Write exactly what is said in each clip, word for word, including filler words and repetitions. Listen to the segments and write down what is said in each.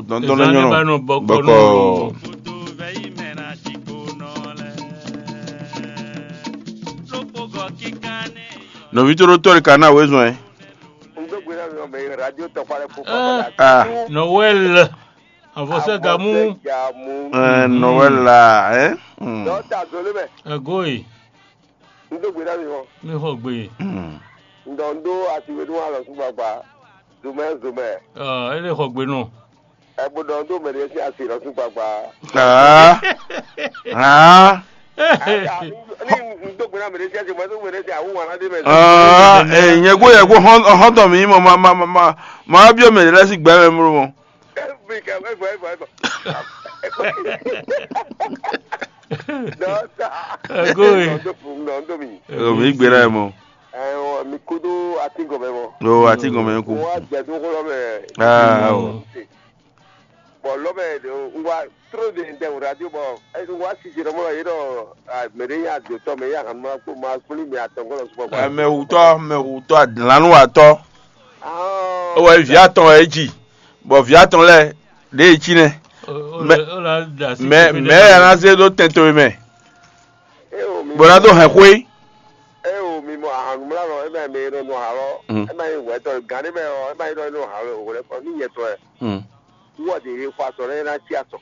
Dɔndɔn lɛ nyɔnɔ bɔkɔ. Nɔvi tó ɖó tɔ́ ɖe ka ná wezɔn ɛ. Un dó gbe ná mi ɔmɛ radio tɔkpa lɛ fún papa. Ah, Noël. Avɔsɛ gamu. Gamu. Ɛ, Noël la, ɛ. Hmm. Dɔta zolé mɛ. Ego yi. Un dó gbe ná mi hɔn. Mi xɔ gbe. Hmm. Un dɔ un dó asiwe nú alɔ sún gbagba. Zomɛ zomɛ. Ɔ, ele xɔ gbe nɔ. Ɛ bó dɔ un dó mɛ ɖé sí asi lɔ sún gbagba. Ah. Ah. Ni un dó gbe ná mɛ ɖé sí asi mɛ dó mɛ ɖé sí awu wana dé mɛ. Ah, eh, nyɛ gbó yɛ gbó hɔn hɔn tɔ mi mɔ ma ma ma ma ma biɔ mɛ ɖé lɛ sí gbɛ mɛ mló mɔ. Every ka wɛ vɔ vɔ vɔ. Dɔta. Ego yi. Nɔ do fun nɔ do mi. Ego mi gbé la mɔ. Ɛ mi kudo ati gɔmɛ mɔ. Lo ati gɔmɛ ku. Wa jɛ do kɔlɔ mɛ. Ah o. Bɔn lɔ mɛ de wa tro de ntɛ o radio bɔ wa sisi dɔ mɔ ye dɔ mɛ de ya do tɔ mɛ ya kan ma ko ma kuli mɛ atɔngɔ lɔ sukpɔ. Mɛ wutɔ mɛ wutɔ lanu watɔ. Ó wɛ vǐ atɔn wɛ é ji, bɔ vǐ atɔn lɛ́ɛ ɖě é cí nɛ́. Mɛ mɛ ya ná zé ɖó tɛn towe mɛ. Bó ná dó hɛn xwé. Eo mi mɔ ahanumlánɔ ema mi nɔ nɔ halɔ ema yi wɛtɔ gane mɛ ɔ ema yi nɔ nɔ halɔ wɛlɛ kɔ ni yɛtɔ ɛ. Wɔ de ye xɔ asɔ ne na tsi asɔ.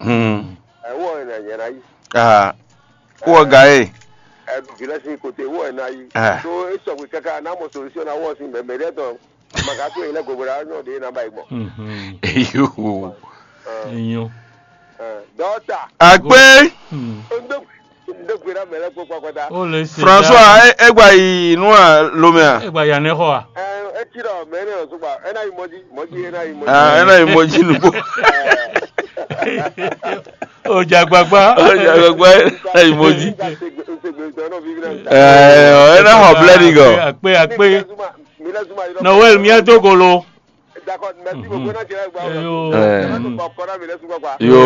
Ɛ wɔ ena yɛ na yi. Wɔ ga ye. Ɛ du vilɛ si kote wɔ ena yi. To esɔgbe kaka na mɔ solution na wɔ si mɛ mɛ ɖe tɔ. Maka to yi lɛ gogo la nyɔ de na ba yi gbɔ. Eyo. Enyo. Dɔta. Akpe. Ndo ndo gbe na mɛ lɛ kpɔ kpakpata. François, e gba yi nu a lomɛ a? E gba ya ne xɔ a? Eti dɔ mɛ ne o sugba ena yi mɔdi mɔdi ena yi mɔdi. Ah, ena yi mɔdi nugbo. O ja gbagba. O ja gbagba, ena yi mɔdi. Nsegbe nsegbe ntɔ nɔ vivi na. Eh, ena xɔ blɛ ni gɔ. Akpe akpe. Noël miɛ dogolo. D'accord, merci beaucoup. N'a cɛ gba. Yo. Ɛ ma to kɔ kɔrɔ mi lɛ sugba kwa. Yo.